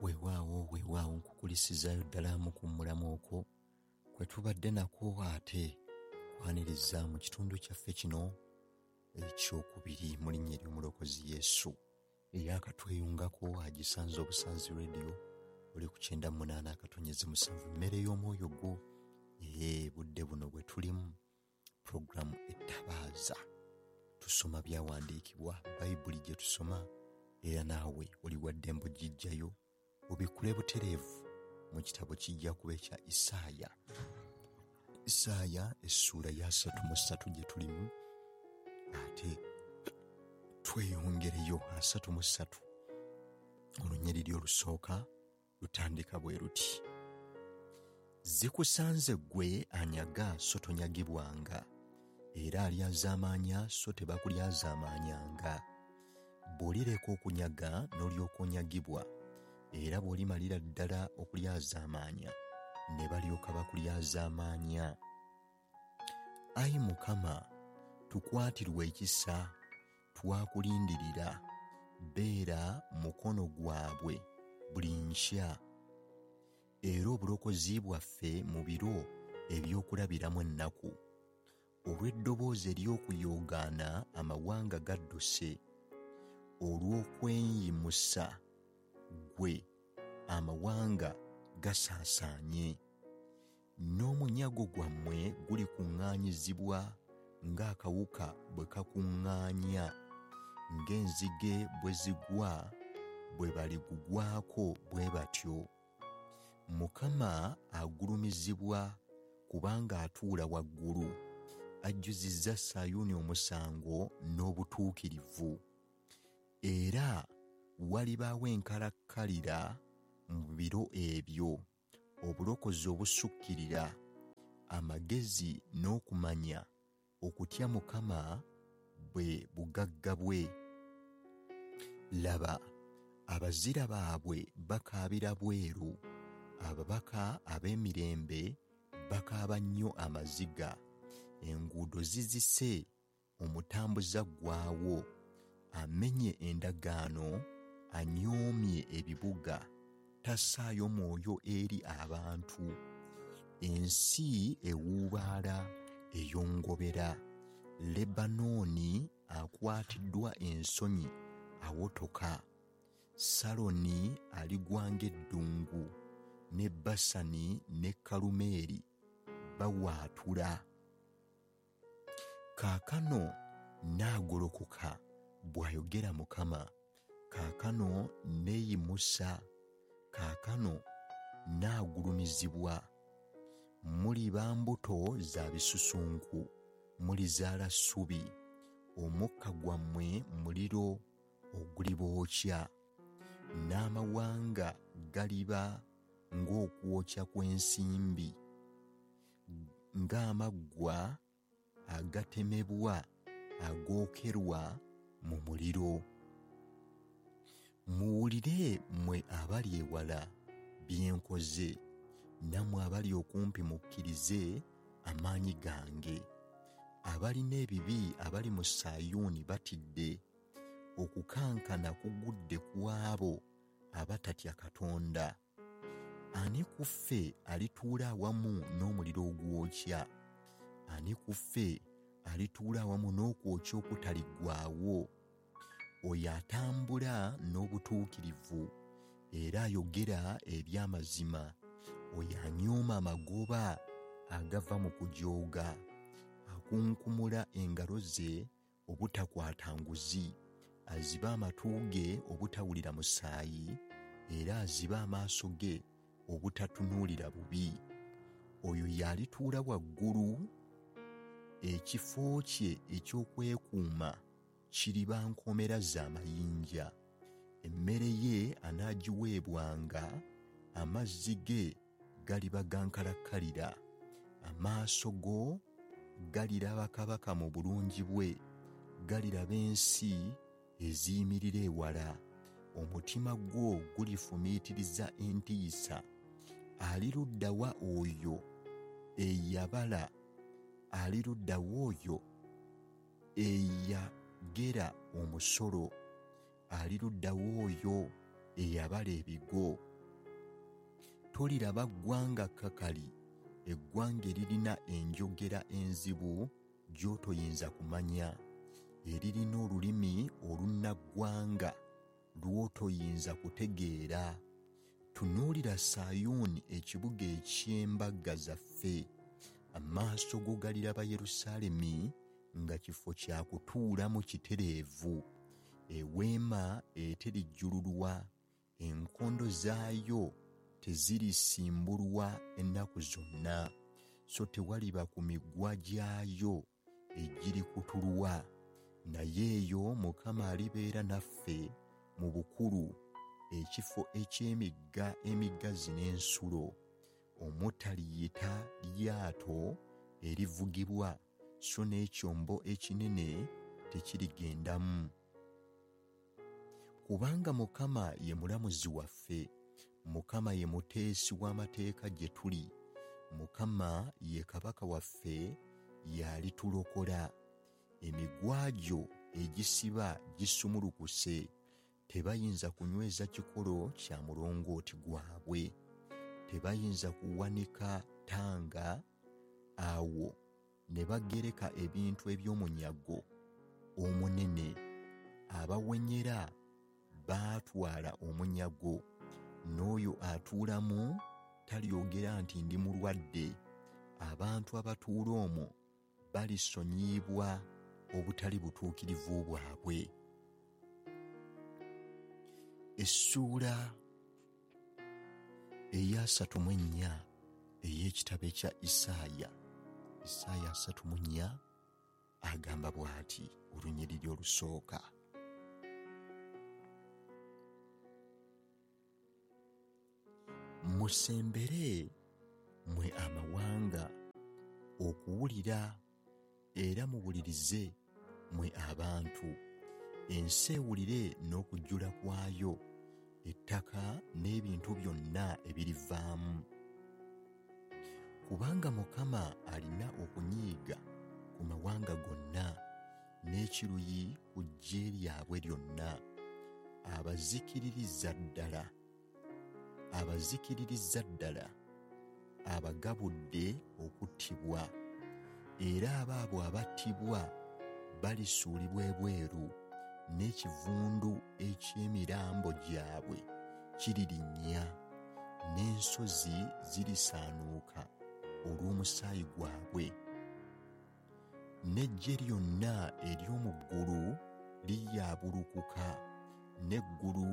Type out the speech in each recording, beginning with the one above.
Weewaawo weewaawo nkukulisizaayo ddala mu kuwummulamu okwo kwe tubadde nakwo, ate kwaniriza mu kitundu kyaffe kino ekyokubiri mu linnya ery'Omulokozi Yesu. Eyakatweyungako agisanze obusanzi radio oli ku 98.7, mmere y'omwoyo gwo. Budde buno bwe tulimu puroguramu Ettabaaza, tusoma byawandiikibwa, Bayibuli gye tusoma, era naawe oli wa ddembe ogijjayo obikkule butereevu mu kitabo kijja kuba ekya Isaaya. Isaaya essuula ya 33 gye tulimu, ate tweyongereyo 33. Olunyiriri olusooka lutandika bwe luti: Zikusanze ggwe anyaga so tonyagibwanga, era alyazaamaanya so tebakulyazaamaanyanga. Bw'olireka okunyaga n'olyoka onyagibwa, era bw'olimalira ddala okulyazaamaanya ne balyoka bakulyazaamaanya. Ayi Mukama, tukwatirwe ekisa, twakulindirira, beera mukono gwabwe buli nkya, era obulokozi bwaffe mu biro eby'okulabiramu ennaku. Olw'eddoboozi ery'okuyoogaana amawanga gadduse, olw'okweyimusa ggwe amawanga gasaasaanye. N'omunyago gwammwe gulikuŋŋaanyizibwa ng'akawuka bwe kakuŋŋaanya, ng'enzige bwe zigwa bwe baligugwako bwe batyo. Mukama agulumizibwa kubanga atuula waggulu, ajjuzizza Sayuuni omusango n'obutuukirivu. Era walibaawo enkalakkalira mu biro ebyo, obulokozi obusukkirira, amagezi n'okumanya, okutya Mukama bwe bugagga bwe. Laba, abazira baabwe bakaabira bweru, ababaka ab'emirembe bakaaba nnyo amaziga. Enguudo zizise, omutambuza ggwawo, amenye endagaano, anyoomye ebibuga, tassaayo mwoyo eri abantu. Ensi ewuubaala eyongobera, Lebanooni akwatiddwa ensonyi awotoka, Saloni aligwa ng'eddungu, ne Basani ne Kalumeeri bawaatula. Kaakano naagolokoka, bw'ayogera Mukama, kaakano neeyimusa, kaakano naagulumizibwa. Muliba mbuto za bisusunku, mulizaala ssubi, omukka gwammwe muliro ogulibookya, n'amawanga galiba ng'okwokya kw'ensimbi, ng'amaggwa agatemebwa agookerwa mu muliro. Muwulire mmwe abali ewala bye nkoze, nammwe abali okumpi mukkirize amaanyi gange. Abalina ebibi abali mu Sayuuni batidde, okukankana kugudde ku abo abatatya Katonda. Ani ku ffe alituula awamu n'omuliro ogwokya? Ani ku ffe alituula awamu n'okwokya okutaliggwaawo? Oyo atambula n'obutuukirivu era ayogera eby'amazima, oyo anyooma amagoba agava mu kujooga, akunkumula engalo ze obutakwata nguzi, aziba amatu ge obutawulira musaayi, era aziba amaaso ge obutatunuulira bubi. Oyo y'alituula waggulu, ekifo kye eky'okwekuuma kiriba nkomera z'amayinja. Emmere ye anaagiweebwanga, amazzi ge galiba ga nkalakkalira. Amaaso go galiraba kabaka mu bulungi bwe, galiraba ensi eziyimirira ewala. Omutima gwo gulifumiitiriza entiisa. Aliruddawa oyo eyabala? Aliruddawa oyo eyagera omusolo? Aliruddawa oyo eyabala ebigo? Toliraba ggwanga kkakali, eggwanga eririna enjogera enzibu gy'otoyinza kumanya, eririna olulimi olunnaggwanga lw'otoyinza kutegeera. Tunuulira Sayuuni, ekibuga eky'embaga zaffe. Amaaso go galiraba Yerusaalemi nga kifo kya kutuulamu kitereevu, eweema eterijjululwa, enkondo zaayo tezirisimbulwa ennaku zonna, so tewaliba ku migwa gyayo egirikutulwa. Naye eyo Mukama alibeera naffe mu bukulu, ekifo eky'emigga emigazi n'ensulo, omutaliyita lyato erivugibwa, so n'ekyombo ekinene tekirigendamu. Kubanga Mukama ye mulamuzi waffe, Mukama ye muteesi w'amateeka gye tuli, Mukama ye kabaka waffe, y'alitulokola. Emigwa gyo egisiba gisumulukuse, tebayinza kunyweza kikolo kya mulongooti gwabwe, tebayinza kuwanika ttanga awo ne bagereka ebintu eby'omunyago omunene. Abawenyera baatwala omunyago, n'oyo atuulamu talyogera nti ndi mulwadde. Abantu abatuula omwo balisonyiyibwa obutali butuukirivu bwabwe. Essuula eya 34 ey'ekitabo ekya Isaaya, Isaaya 34, agamba bw'ati, olunyiriri olusooka: Musembere mmwe amawanga okuwulira, era muwulirize mmwe abantu. Ensi ewulire n'okujjula kwayo, ettaka n'ebintu byonna ebirivaamu. Kubanga Mukama alina okunyiiga ku mawanga gonna, n'ekiruyi ku ggye lyabwe lyonna. Abazikiririza ddala, abazikiririza ddala, abagabudde okuttibwa, era abaabo abattibwa balisuulibwa ebweru, n'ekivundu eky'emirambo gyabwe kiririnnya, n'ensozi zirisaanuuka olw'omusaayi gwabwe. N'eggye lyonna ery'omu ggulu liryabulukuka, n'eggulu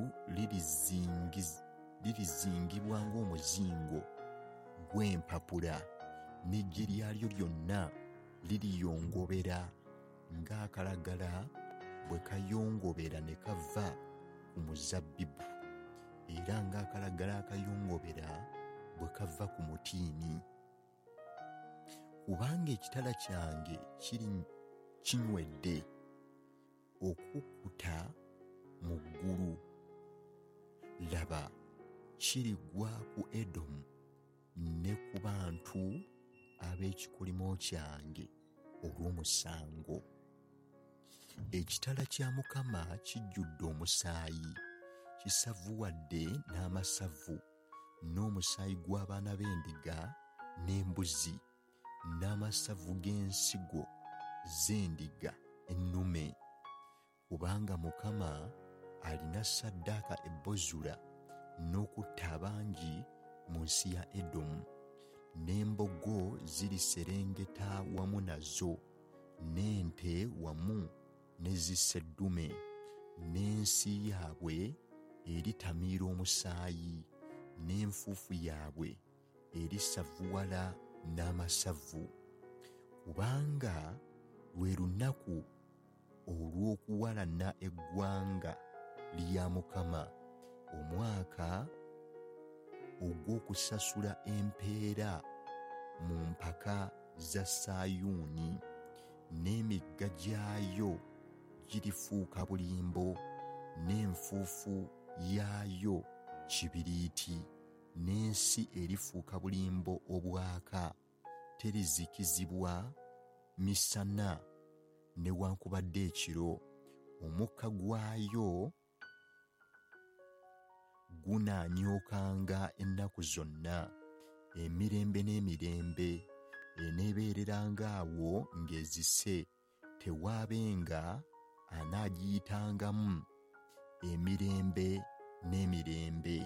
lirizingibwa ng'omuzingo gw'empapula, n'eggye lyalyo lyonna liriyongobera ng'akalagala bwe kayongobera ne kava ku muzabbibu, era ng'akalagala akayongobera bwe kava ku mutiini. Kubanga ekitala kyange kiri kinywedde okukkuta mu ggulu, laba, kirigwa ku Edomu ne ku bantu ab'ekikolimo kyange olw'omusango. Ekitala kya Mukama kijjudde omusaayi, kisavuwadde n'amasavu, n'omusaayi gw'abaana b'endiga n'embuzi, n'amasavu g'ensigo z'endiga ennume. Kubanga Mukama alina ssaddaaka e Bozula n'okutta abangi mu nsi ya Edomu, n'embogo ziriserengeta wamu nazo, n'ente wamu ne zisseddume, n'ensi yaabwe eritamiira omusaayi, n'enfuufu yaabwe erisavuwala n'amasavu. Kubanga lwe lunaku olw'okuwalana eggwanga lya Mukama, omwaka ogw'okusasula empeera mu mpaka za Sayuuni, n'emigga gyayo girifuuka bulimbo, n'enfuufu yaayo kibiriiti, n'ensi erifuuka bulimbo obwaka, terizikizibwa misana newankubadde ekiro. Omukka gwayo Gunaanyookanga ennaku zonna, emirembe n'emirembe, eneebeereranga awo ng'ezise, tewaabenga anaagiyitangamu emirembe n'emirembe.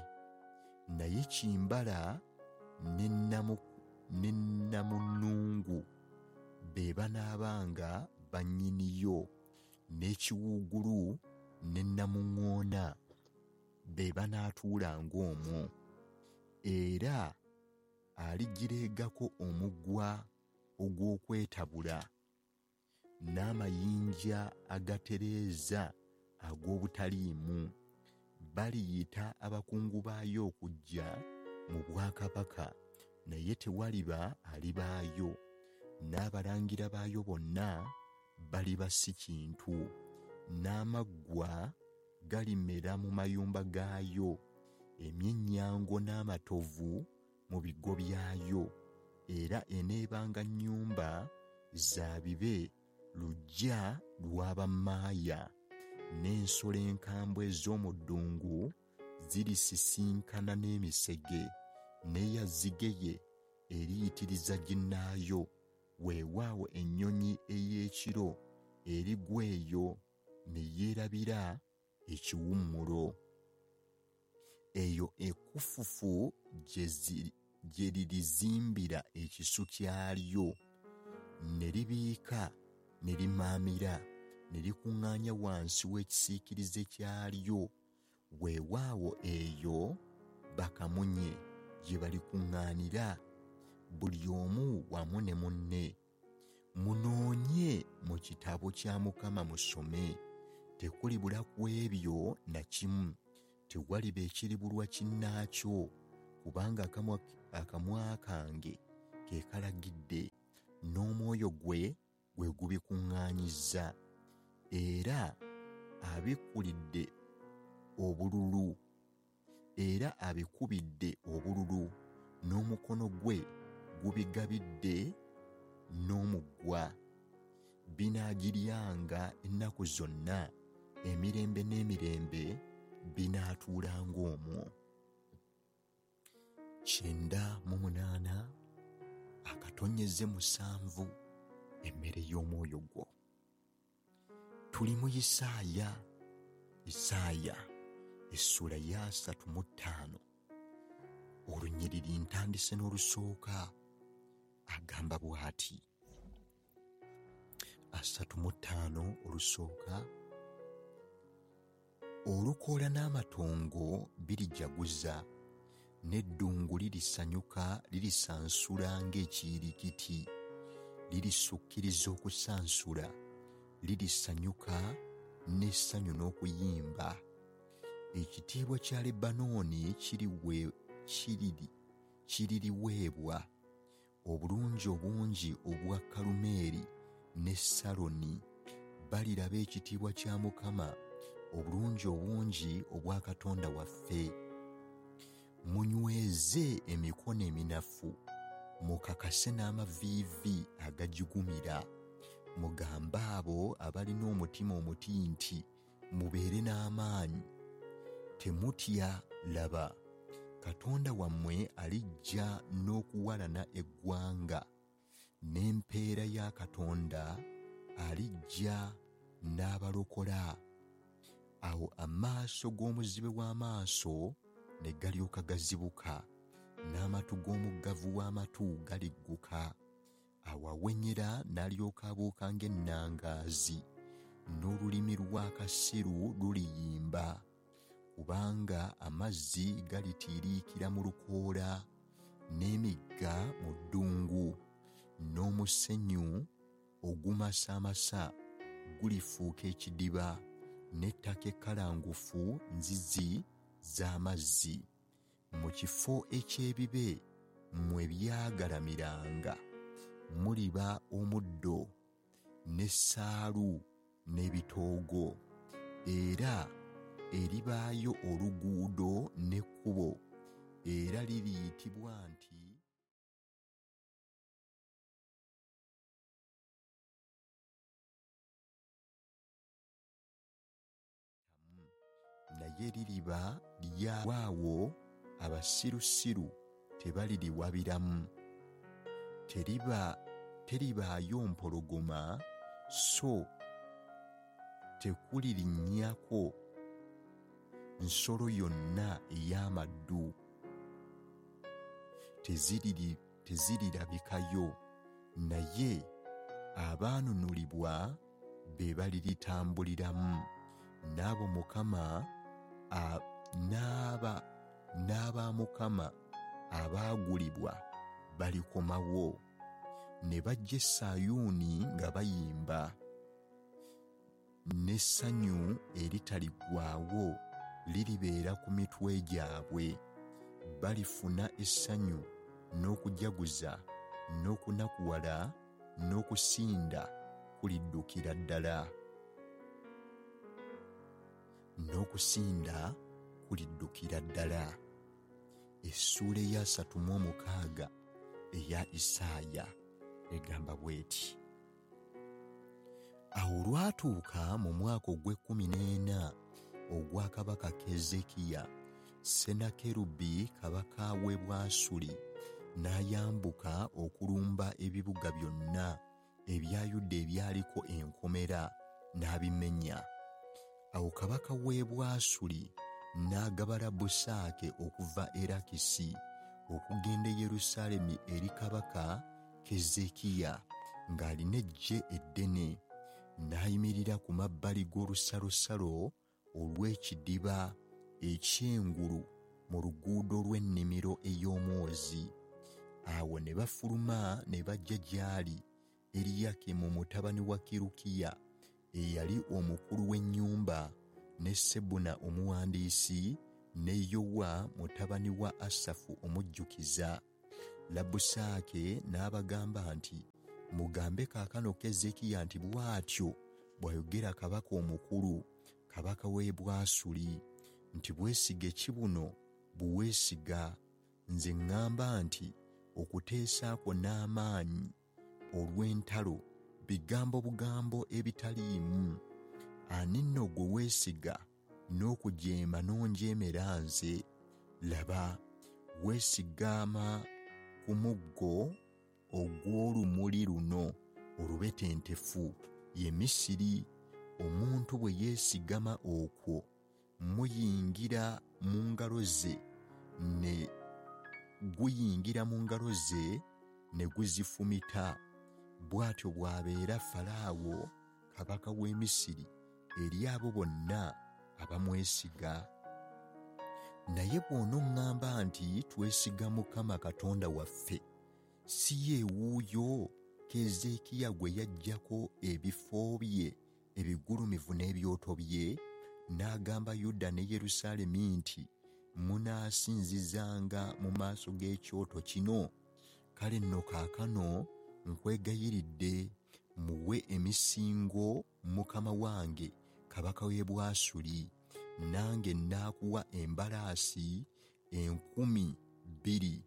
Naye kimbala ne namunnungu be banaabanga bannyiniyo, n'ekiwuugulu ne namuŋŋoona be banaatuulanga omwo. Era aligireegako omugwa ogw'okwetabula n'amayinja agatereeza ag'obutaliimu. Baliyita abakungu baayo okujja mu bwakabaka, naye tewaliba alibaayo, n'abalangira baayo bonna baliba si kintu. N'amaggwa galimera mu mayumba gaayo, emyennyango n'amatovu mu bigo byayo. Era eneebanga nnyumba za bibe, luggya lw'abammaaya, n'ensolo enkambwe ez'omu ddungu zirisisinkana n'emisege, n'eyazzigeye eriyitiriza ginnaayo. Weewaawo ennyonyi ey'ekiro erigwa eyo ne yeerabira ekiwummulo. Eyo ekkufufu gye lirizimbira ekisu kyalyo, ne libiika ne limaamira, ne likuŋŋaanya wansi w'ekisiikirize kyalyo. Weewaawo eyo bakamunye gye balikuŋŋaanira, buli omu wamu ne munne. Munoonye mu kitabo kya Mukama musome, tekulibula ku ebyo na kimu, tewaliba ekiribulwa kinnaakyo, kubanga akamwa kange ke kalagidde, n'omwoyo gwe gwe gubikuŋŋaanyizza. Era abikkulidde obululu, era abikubidde obululu, n'omukono gwe gubigabidde n'omugwa. Binaagiryanga ennaku zonna, emirembe n'emirembe binaatuulanga omwo. 98 akatonnyeze 7, emmere y'omwoyo gwo. Tuli mu Isaaya, Isaaya essuula ya 35, olunyiriri ntandise n'olusooka. Agamba bw'ati, 35 olusooka: Olukoola n'amatongo birijaguza, n'eddungu lirisanyuka, lirisansula ng'ekiyirikiti, lirisukiriza okusansula, lirisanyuka n'essanyu n'okuyimba. Ekitiibwa kya Lebanooni kiririweebwa, obulungi obungi obwa Kalumeeri ne Saloni. Baliraba ekitiibwa kya Mukama, obulungi obungi obwa Katonda waffe. Munyweze emikono eminafu, mukakase n'amaviivi agajugumira. Mugambe abo abalina omutima omuti nti, Mubeere n'amaanyi, temutya, laba, Katonda wammwe alijja n'okuwalana eggwanga, n'empeera ya Katonda alijja n'abalokola. Awo amaaso g'omuzibe w'amaaso ne galyoka gazibuka, n'amatu g'omuggavu w'amatu galigguka. Awo awenyera n'alyoka abuuka ng'ennangaazi, n'olulimi lw'akasiru luliyimba. Kubanga amazzi galitiiriikira mu lukoola, n'emigga mu ddungu, n'omusenyu ogumasaamasa gulifuuka ekidiba, n'ettaka ekkalangufu nzizi z'amazzi. Mu kifo eky'ebibe mwe byagalamiranga muliba omuddo n'essaalu n'ebitoogo, era eribaayo oluguudo n'ekkubo, era liriyitibwa nti. Naye Naye liriba lyawaawo, abasirusiru tebaliriwabiramu. Teribaayo mpologoma, so tekulirinnyako nsolo yonna ey'amaddu. Tezirirabikayo, naye abaanunulibwa be baliritambuliramu, n'abo Mukama n'aba Mukama abaagulibwa balikomawo, ne bajja e Sayuuni nga bayimba, n'essanyu eritaliggwaawo liribeera ku mitwe gyabwe. Balifuna essanyu n'okujaguza n'okunakuwala n'okusinda kuliddukira ddala. N'okusinda kuliddukira ddala. Essuula eya 36 eya Isaaya egamba bw'eti: Awo olwatuuka mu mwaka ogw'e14 ogwa kabaka Keezeekiya, Sennakerubi kabaka w'e Bwasuli n'ayambuka okulumba ebibuga byonna ebya Yuda ebyaliko enkomera n'abimenya. Awo kabaka w'e Bwasuli n'agaba Labbusaake okuva e Lakisi okugenda e Yerusaalemi eri kabaka Keezeekiya ng'alina eggye eddene, n'ayimirira ku mabbali g'olusalosalo olw'ekidiba eky'engulu mu luguudo lw'ennimiro ey'omwozi. Awo ne bafuluma ne bajja gy'ali Eriyakimu mutabani wa Kirukiya eyali omukulu w'ennyumba, ne Sebuna omuwandiisi, ne Yowa mutabani wa Asafu omujjukiza. Labbusaake n'abagamba nti, Mugambe kaakano Keezeekiya nti bw'atyo bw'ayogera kabaka omukulu, kabaka w'e Bwasuli, nti bwesige ki buno bwe weesiga? Nze ŋŋamba nti okuteesa kwo n'amaanyi olw'entalo bigambo bugambo ebitaliimu. Ani nno gwe weesiga n'okujeema n'onjeemera nze? Laba, weesigama ku muggo ogw'olumuli luno olubetentefu, ye Misiri. Omuntu bwe yeesigama okwo muyingira mu ngalo ze ne guyingira mu ngalo ze ne guzifumita. Bw'atyo bw'abeera Falaawo kabaka w'e Misiri eri abo bonna abamwesiga. Naye bw'onoŋŋamba nti twesiga Mukama Katonda waffe, si ye wuuyo Keezeekiya gwe yaggyako ebifo bye ebigulumivu n'ebyoto bye, n'agamba Yuda ne Yerusaalemi nti munaasinzizanga mu maaso g'ekyoto kino? Kale nno kaakano nkwegayiridde muwe emisingo mukama wange kabaka w'e Bwasuli, nange nnaakuwa embalaasi 2,000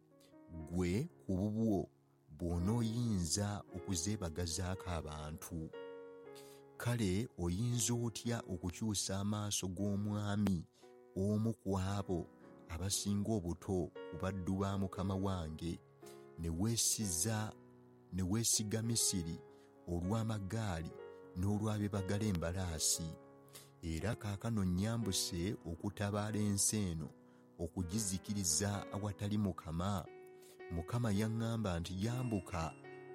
ggwe ku bubwo bw'onooyinza okuzeebagazaako abantu. Kale oyinza otya okukyusa amaaso g'omwami omu ku abo abasinga obuto ku baddu ba mukama wange, ne weesiga Misiri olw'amagaali n'olw'abeebagala embalaasi? Era kaakano nnyambuse okutabaala ensi eno okugizikiriza awatali Mukama. Mukama yaŋŋamba nti yambuka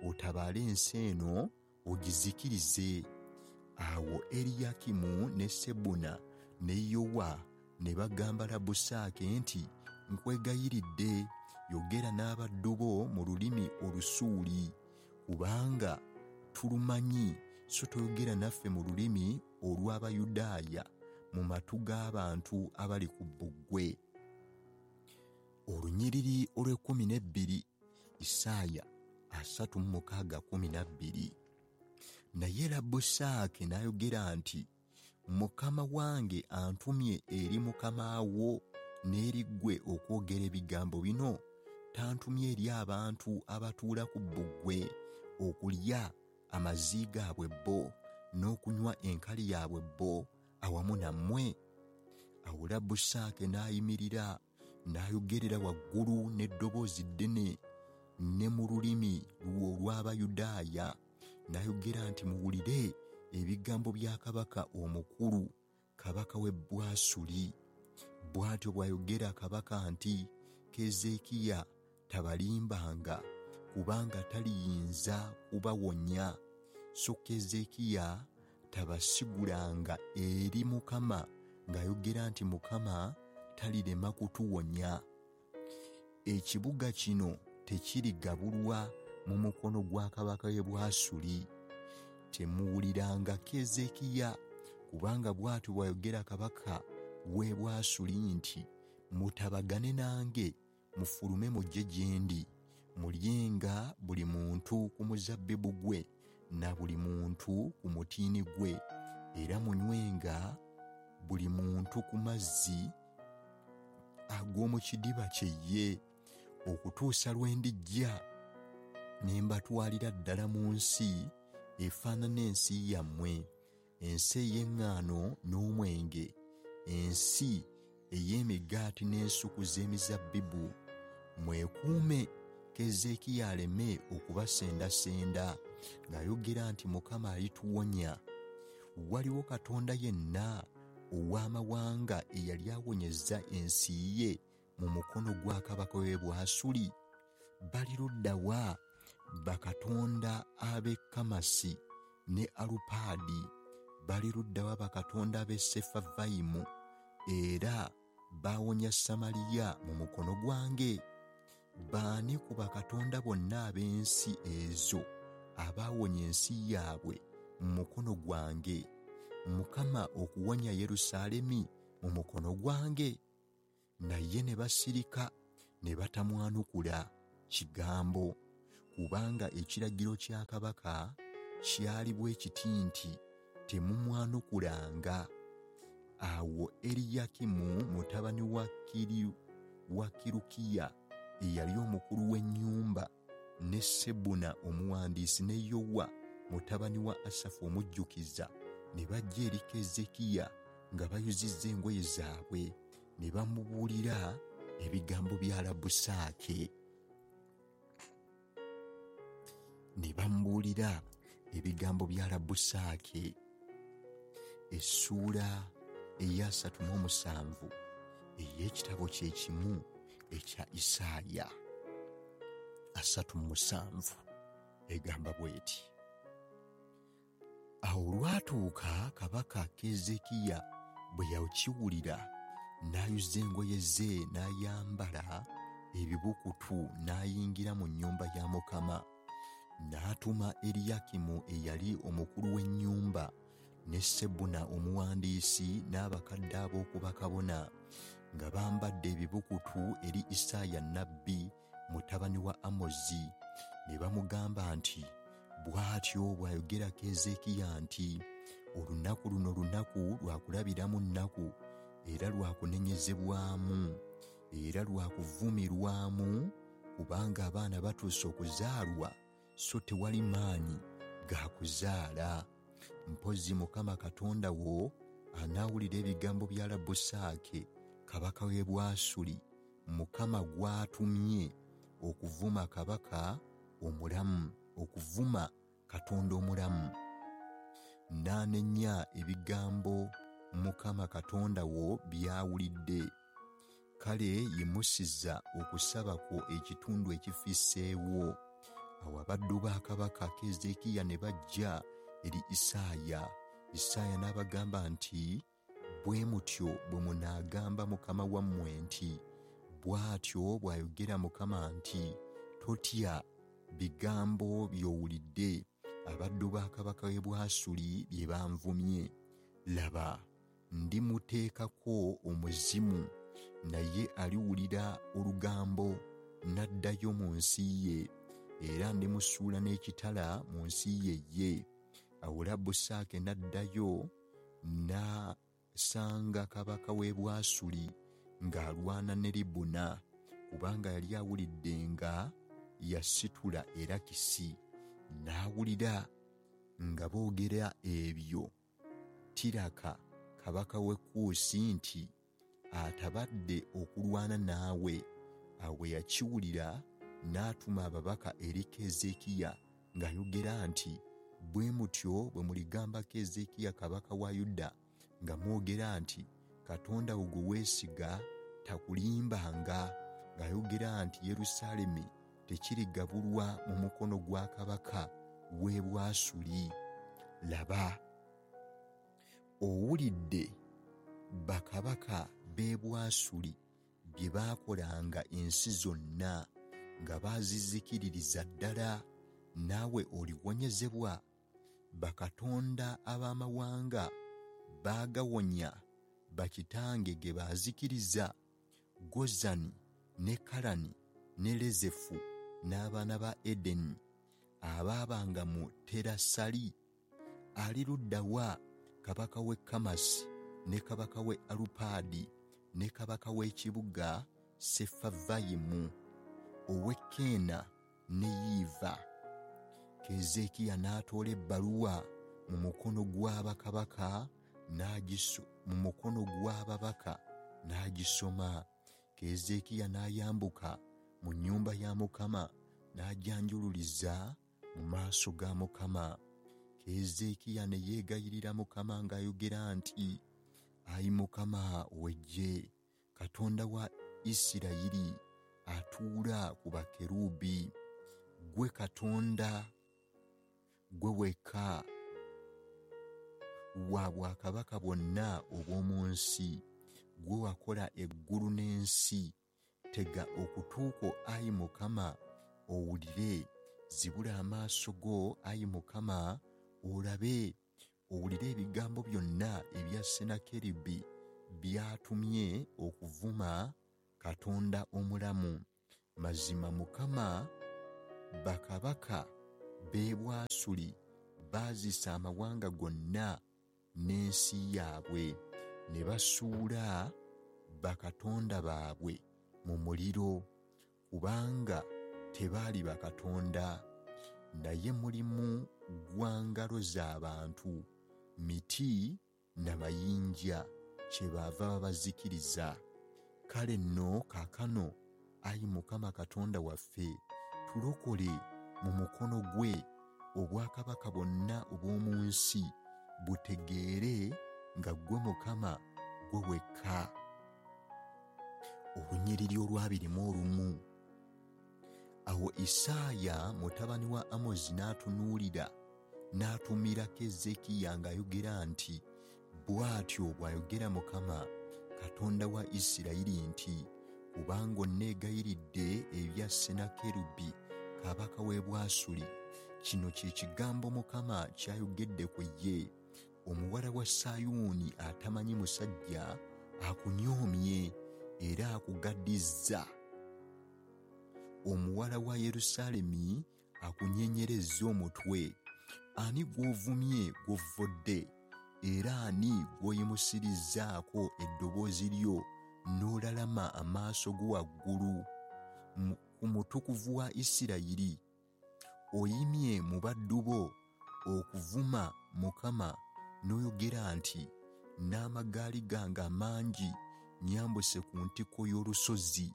otabaale ensi eno ogizikirize. Awo Eriyakimu ne Sebuna ne Yowa ne bagamba Labbusaake nti nkwegayiridde yogera n'abaddu bo mu lulimi Olusuuli, kubanga tulumanyi, so toyogera naffe mu lulimi olw'Abayudaaya mu matu g'abantu abali ku bbugwe. Olunyiriri olw'e12, Isaaya 36:12. Naye Labbusaake n'ayogera nti Mukama wange antumye eri mukama wo n'eri ggwe okwogera ebigambo bino? Tantumye eri abantu abatuula ku bbugwe okulya amazzi gaabwe bo n'okunywa enkali yaabwe bo awamu nammwe? Awo Labbusaake n'ayimirira n'ayogerera waggulu n'eddoboozi ddene ne mu lulimi olw'Abayudaaya, n'ayogera nti, Muwulire ebigambo bya kabaka omukulu, kabaka w'e Bwasuli. Bw'atyo bw'ayogera kabaka nti, Keezeekiya tabalimbanga, kubanga taliyinza kubawonya. So Keezeekiya tabasigulanga eri Mukama ng'ayogera nti, Mukama talirema kutuwonya. Ekibuga kino tekirigabulwa mu mukono gwa kabaka w'e Bwasuli. Temuwuliranga Keezeekiya, kubanga bw'atyo bw'ayogera kabaka w'e Bwasuli nti, Mutabagane nange, mufulume mujje gye ndi, mulyenga buli muntu ku muzabbibu gwe na buli muntu ku mutiini gwe, era munywenga buli muntu ku mazzi ag'omu kidiba kye ye, okutuusa lwe ndijja ne mbatwalira ddala mu nsi efaanana ensi yammwe, ensi ey'eŋŋaano n'omwenge, ensi ey'emigaati n'ensuku z'emizabbibu. Mwekuume Keezeekiya aleme okubasendasenda ng'ayogera nti, Mukama alituwonya. Waliwo katonda yenna ow'amawanga eyali awonyezza ensi ye mu mukono gwa kabaka w'e Bwasuli? Bali ludda wa bakatonda ab'e Kamasi ne Alupaadi? Bali ludda wa bakatonda ab'e Sefavayimu? Era baawonya Samaliya mu mukono gwange? Baani ku bakatonda bonna ab'ensi ezo abaawonya ensi yaabwe mu mukono gwange, Mukama okuwonya Yerusaalemi mu mukono gwange? Naye ne basirika ne batamwanukula kigambo, kubanga ekiragiro kya kabaka kyali bwe kiti nti, Temumwanukulanga. Awo Eriyakimu mutabani wa Kirukiya eyali omukulu w'ennyumba, ne Sebuna omuwandiisi, ne Yowa mutabani wa Asafu omujjukiza, ne bajja eri Keezeekiya nga bayuzizza engoye zaabwe, ne bamubuulira ebigambo bya Labbusaake. Ne bamubuulira ebigambo bya Labbusaake. Essuula eya 37 ey'ekitabo kye kimu ekya Isaaya 37 egamba bw'eti: Awo olwatuuka kabaka Keezeekiya bwe yakiwulira, n'ayuza engoye ze n'ayambala ebibukutu n'ayingira mu nnyumba ya Mukama. N'atuma Eriyakimu eyali omukulu w'ennyumba, ne Sebuna omuwandiisi, n'abakadde ab'oku bakabona, nga bambadde ebibukutu eri Isaaya nnabbi mutabani wa Amozi. Ne bamugamba nti, Bw'atyo bw'ayogera Keezeekiya nti, Olunaku luno lunaku lwa kulabiramu nnaku, era lwa kunenyezebwamu, era lwa kuvumirwamu, kubanga abaana batuuse okuzaalwa, so tewali maanyi ga kuzaala. Mpozzi Mukama Katonda wo anaawulira ebigambo bya Labbusaake kabaka w'e Bwasuli, Mukama gw'atumye okuvuma kabaka omulamu, okuvuma Katonda omulamu. N'anenya ebigambo Mukama Katonda wo by'awulidde. Kale yimusiza okusaba kwo ekitundu ekifisseewo. Awo abaddu ba kabaka Keezeekiya ne bajja eri Isaaya. Isaaya n'abagamba nti, Bwe mutyo bwe munaagamba mukama wammwe nti, Bw'atyo bw'ayogera Mukama nti, Totya bigambo by'owulidde abaddu ba kabaka w'e Bwasuli bye banvumye. Laba, ndimuteekako omuzimu, naye aliwulira olugambo n'addayo mu nsi ye, era ndimusuula n'ekitala mu nsi ye ye. Awo Labbusaake n'addayo n'asanga kabaka w'e Bwasuli ng'alwana ne Libuna, kubanga yali awulidde nga yasitula Erakisi. N'awulira nga boogera ebyo Tiraka kabaka w'e Kuusi nti, atabadde okulwana naawe. Awo bwe yakiwulira n'atuma ababaka eri Keezeekiya ng'ayogera nti, Bwe mutyo bwe muligamba Keezeekiya kabaka wa Yuda nga mwogera nti, Katonda wo gwe weesiga takulimbanga ng'ayogera nti Yerusaalemi tekirigabulwa mu mukono gwa kabaka w'e Bwasuli. Laba, owulidde bakabaka b'e Bwasuli bye baakolanga ensi zonna nga baazizikiririza ddala, naawe oliwonyezebwa? Bakatonda ab'amawanga baagawonya bakitange ge baazikiriza, Gozani ne Kalani ne Lezefu n'abaana ba Edeni abaabanga mu Terasali. Ali ludda wa kabaka w'e Kamasi ne kabaka w'e Alupaadi ne kabaka w'ekibuga Sefavayimu, ow'e Keena ne Yiiva? Keezeekiya n'atoola ebbaluwa mu mukono gwa bakabaka mu mukono gw'ababaka n'agisoma. Keezeekiya n'ayambuka mu nnyumba ya Mukama n'agyanjululiza mu maaso ga Mukama. Keezeekiya ne yeegayirira Mukama ng'ayogera nti, Ayi Mukama ow'eggye, Katonda wa Isirayiri atuula ku bakerubi, ggwe Katonda, ggwe wekka wa bwakabaka bwonna obw'omu nsi, ggwe wakola eggulu n'ensi. Tega okutu kwo, ayi Mukama, owulire, zibula amaaso go, ayi Mukama, olabe, owulire ebigambo byonna ebya Sennakeribu by'atumye okuvuma Katonda omulamu. Mazima Mukama, bakabaka b'e Bwasuli baazisa amawanga gonna n'ensi yaabwe, ne basuula bakatonda baabwe mu muliro, kubanga tebaali bakatonda, naye mulimu gwa ngalo z'abantu, miti na mayinja, kyebaava babazikiriza. Kale nno kaakano, ayi Mukama Katonda waffe, tulokole mu mukono gwe, obwakabaka bwonna obw'omu nsi butegeere nga ggwe Mukama, ggwe wekka. Olunyiriri olwabiri mu olumu. Awo Isaaya mutabani wa Amozi n'atunuulira n'atumira Keezeekiya ng'ayogera nti, Bw'atyo bw'ayogera Mukama, Katonda wa Isirayiri nti, Kubanga onneegayiridde ebya Sennakerubi kabaka w'e Bwasuli, kino kye kigambo Mukama ky'ayogedde ku ye, Omuwala wa Sayuuni atamanyi musajja akunyoomye era akugaddizza. Omuwala wa Yerusaalemi akunyenyerezza omutwe. Ani gw'ovumye gw'ovvodde, era ani gw'oyimusirizzaako eddoboozi lyo n'olalama amaaso go waggulu ku Mutukuvu wa Isirayiri? Oyimye mu baddu bo okuvuma Mukama n'oyogera nti, N'amagaali gange amangi nnyambuse ku ntikko y'olusozi,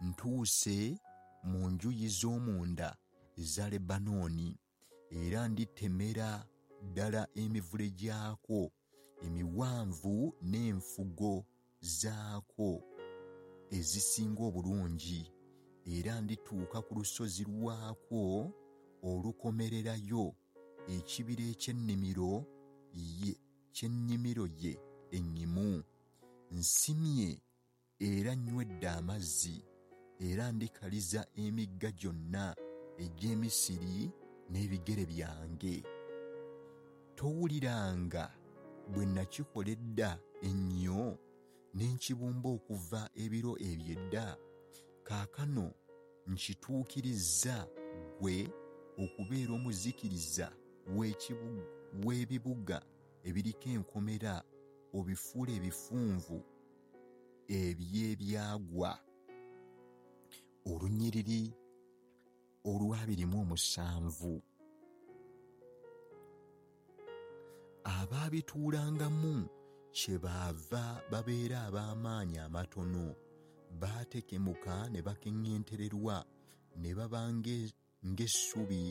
ntuuse mu njuyi z'omunda eza Lebanooni, era nditemera ddala emivule gyakwo emiwanvu n'enfugo zaakwo ezisinga obulungi, era ndituuka ku lusozi lwakwo olukomererayo, ekibira eky'ennimiro ye ennyimu. Nsimye era nywedde amazzi, era ndikaliza emigga gyonna egy'e Misiri n'ebigere byange. Towuliranga bwe nakikola edda ennyo, ne nkibumba okuva ebiro eby'edda? Kaakano nkituukirizza ggwe okubeera omuzikiriza w'ebibuga ebiriko enkomera, obifuule ebifunvu eby'ebyagwa. Olunyiriri olwabiri mu omusanvu. Abaabituulangamu Kyebaava babeera ab'amaanyi amatono, baatekemuka ne bakeŋŋentererwa, ne baba ng'essubi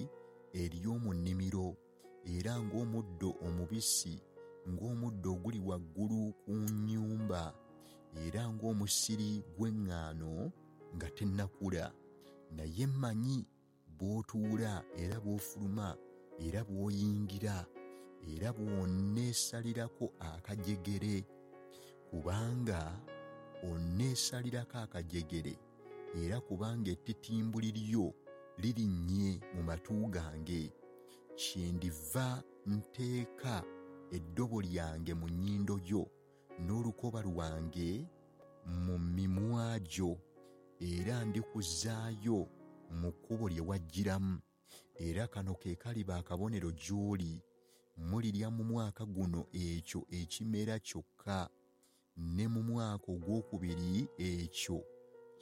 ery'omu nnimiro, era ng'omuddo omubisi, ng'omuddo oguli waggulu ku nnyumba, era ng'omusiri gw'eŋŋaano nga tennakula. Naye mmanyi bw'otuula era bw'ofuluma era bw'oyingira, era bw'onneesalirako akajegere, kubanga onneesalirako akajegere, era kubanga ettitimbuli lyo lirinnye mu matu gange. Kyendiva nteeka eddobo lyange mu nnyindo yo, n'olukoba lwange mu mimwa gyo, era ndikuzzaayo mu kkubo lye wajjiramu. Era kano ke kaliba akabonero gy'oli: mulirya mu mwaka guno ekyo ekimera kyokka, ne mu mwaka ogwokubiri ekyo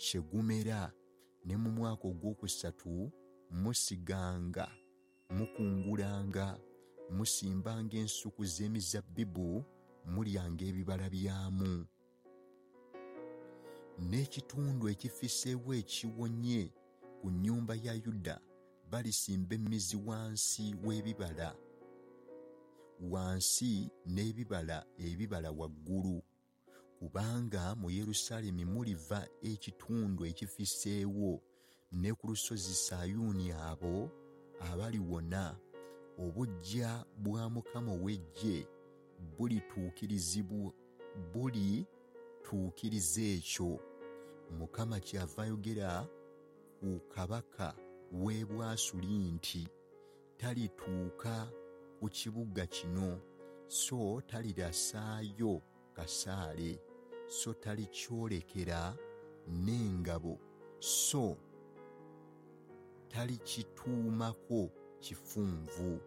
kye gumera, ne mu mwaka ogwokusatu musiganga, mukungulanga, musimbanga ensuku z'emizabbibu, mulyanga ebibala byamu. N'ekitundu ekifisseewo ekiwonye ku nnyumba ya Yuda balisimba emizi wansi w'ebibala, wansi n'ebibala ebibala waggulu, kubanga mu Yerusaalemi muliva ekitundu ekifisseewo, ne ku lusozi Sayuuni abo abaliwona. Obuggya bwa Mukama ow'eggye bulituukiriza ekyo. Mukama kyava ayogera ku kabaka w'e Bwasuli nti, Talituuka ku kibuga kino, so talirasaayo kasaale, so talikyolekera n'engabo, so talikituumako kifunvu.